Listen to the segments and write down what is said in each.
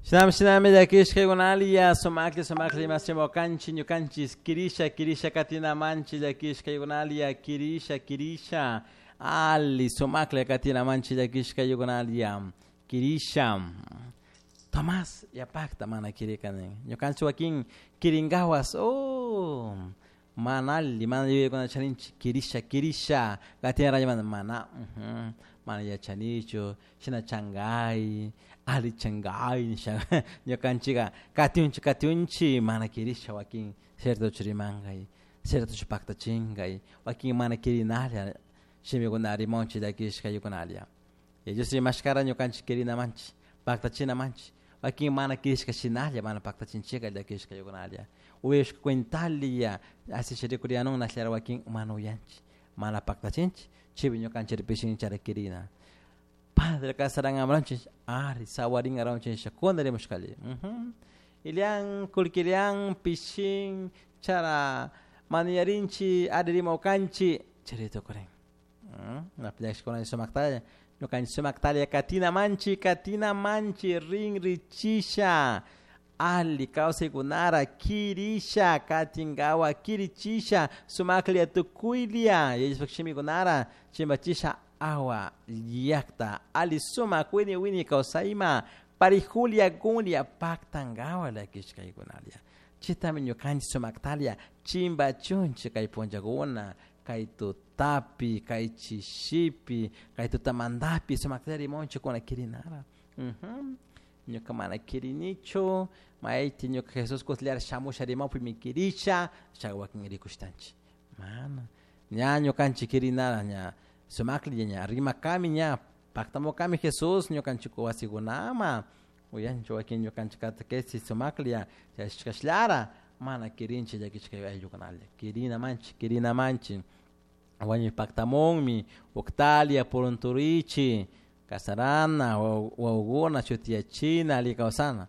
Shinami shinami llakishkaykunalia sumaklla sumaklla imasimokanchik ñukanchik kirisha kirisha katinamanchik llakishkaykunalia kirisha kirisha ali sumaklla katinamanchik llakishkaykunalia kirisha. Tomás yapakta mana kirikani ñukanchik wakin kirinkawas oh mana alli mana yuyaykuna charinchik kirisha kirisha katinarayamanta mana mana yachanichu shina chankay ali chankay nisha ñukanchika katiunchik katiunchik mana kirisha wakin ciertochu rimankay ciertochu paktachinkay wakin mana kirinalla shimikuna rimanchik llakishkaykunalla. Ellos rimashkara ñukanchik kirinamanchik paktachinamanchik wakin mana kirishka shinalla mana paktachinchika llakishkaykunalla uyashka cuentalla así rikurianun nashllara wakin mana uyanchik mana paktachinchik chaypi ñukanchik chara kirina. Padre kasaran amranchik ari sawarin aranchik kuna rimushkali Ilian kulkilian pishin chara maniyarinchi ari rimawkanchik chari tukurin. Napillashkuna sumaktalla ñukanchik sumaktalla katina manchi katina manchi rinrichisha ali kawsaykunara kirisha katinkawa kirichisha sumaklla tukuylla yachashpak shimikunara chimbachisha awa llakta ali sumak wini wini kawsayma parijulia kunlla paktankawa llakishkaykunalla chaytami ñukanchik sumaktalla chimbachunchik kay punllakuna kay tutapi kay chishipi kay tutamantapi sumaktalla rimunchikuna kirinara. Ñuka mana kirinichu mayti ñuka Jesús kutillara shamusha rimawpimi kirisha chay wakin rikushtanchik mana ña ñukanchik kirinara ña sumaklla ña rimakami ña paktamukami Jesús ñukanchik wasikunama uyanchik wakin ñukanchik catequesis sumaklla chashkashlara mana kirinchik llakishka ayllukunalla kirinamanchik kirinamanchik wañuy paktamunmi uktalia purunturichi kasarana wawakuna shutiyachina alli kawsana.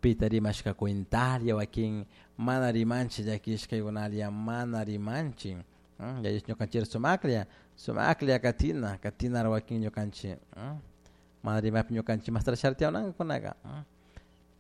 Pita rimashka cuentalla wakin mana rimanchik llakishkaykunalla mana rimanchik yallish ñukanchik sumaklla sumaklla katina katinara wakin ñukanchik mana rimapi ñukanchik mastara shartiawanankakunaka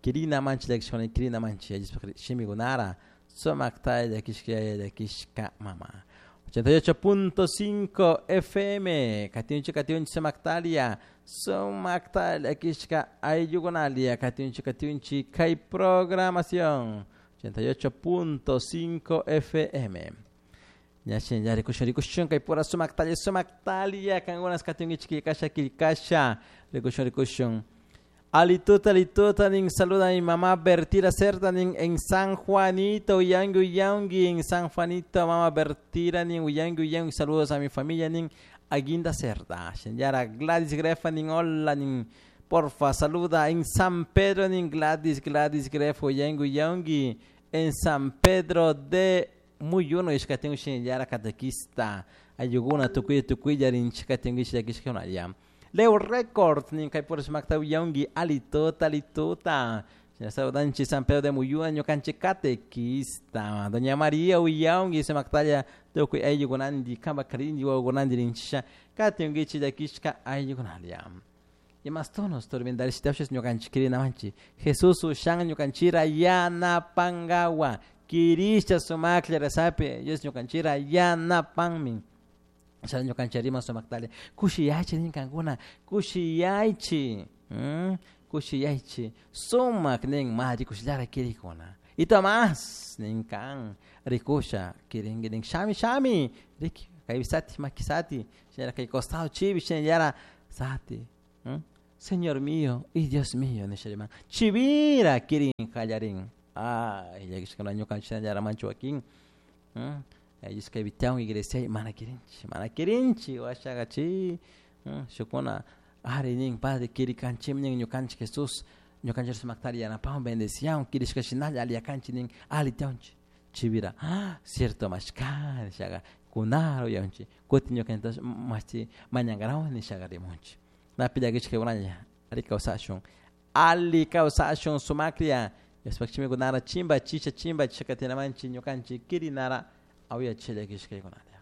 kirina manchik llakishkuna kirina manchik yallishpak shimikunara sumaktalla llakishka yaya llakishka mama. 88.5 FM katiunchik katiunchik sumaktalia sumaktalla llakishka ayllukunalia katiunchik katiunchik kay programación 88.5 FM. Ñashin ya rikushun rikushun kay pura sumaktalia sumaktalia kankunas katiunkichik killkasha killkasha rikushun rikushun. Alituta, alituta, nin saluda a mi mamá Bertira Cerda, nin en San Juanito, Uyangui, Uyangui, en San Juanito, mamá Bertira, nin Uyangui, Uyangui, saludos a mi familia, nin Aguinda Cerda, Señora Gladys Grefa, nin hola, nin porfa, saluda en San Pedro, nin Gladys, Gladys Grefa, Uyangui, Uyangui, en San Pedro de Muyuno, ishkatingu señora catequista, ayuguna, tukuya, tukuya, nin chikatingu, ishkakishka, Leo Records, nin kay pura sumakta uyangui, alituta, alituta. Saludanchi San Pedro de Muyuna, ñukanchik catequista. Doña María uyangui, sumaktalla, tukuy ayllukunandi, kamba karindi, wawakunandi rinchisha, katinguichi llakishka ayllukunalia. Y más tonos, tormendarishitawshis ñukanchik kirinamanchi. Jesús ushan ñukanchira yanapangawa. Kirisha sumaklla rezapi, Dios ñukanchira yanapanmin. Chay ñukanchik sumaktalla. Kushiyaychi nin kankuna, kushiyaychi. Kushiyaychi. Sumak nin ma rikushllara kirikuna. Y Tomás nin kan rikusha kirinki nin shami shami. Riki kay sati makisati. Señora kay costado chibi señora sati. Señor mío y Dios mío nishariman. Chivira kirin kallarin. Ay, llakishkuna ñukanchik shinallara manchu wakin. Ellos que evitaron iglesia mana kirinchi, mana kirinchi, washaga chi, shukuna, ari nin padre kirikanchim nin ñukanchik Jesús, ñukanchik sumaktari yanapawan bendecian, kirishka shinalla aliakanchi nin alitaunchi, chivira, cierto mashka, nishaga, kunaro yaunchi, kuti ñukanchik machi mañangarawan nishaga rimunchi. Napi llakishka kunalla, ali kawsashun, ali kawsashun sumaklla, Yaspak chimikunara chimba chicha chimba chicha katinamanchi ñukanchik kirinara. Auya chile kishkaykunalla.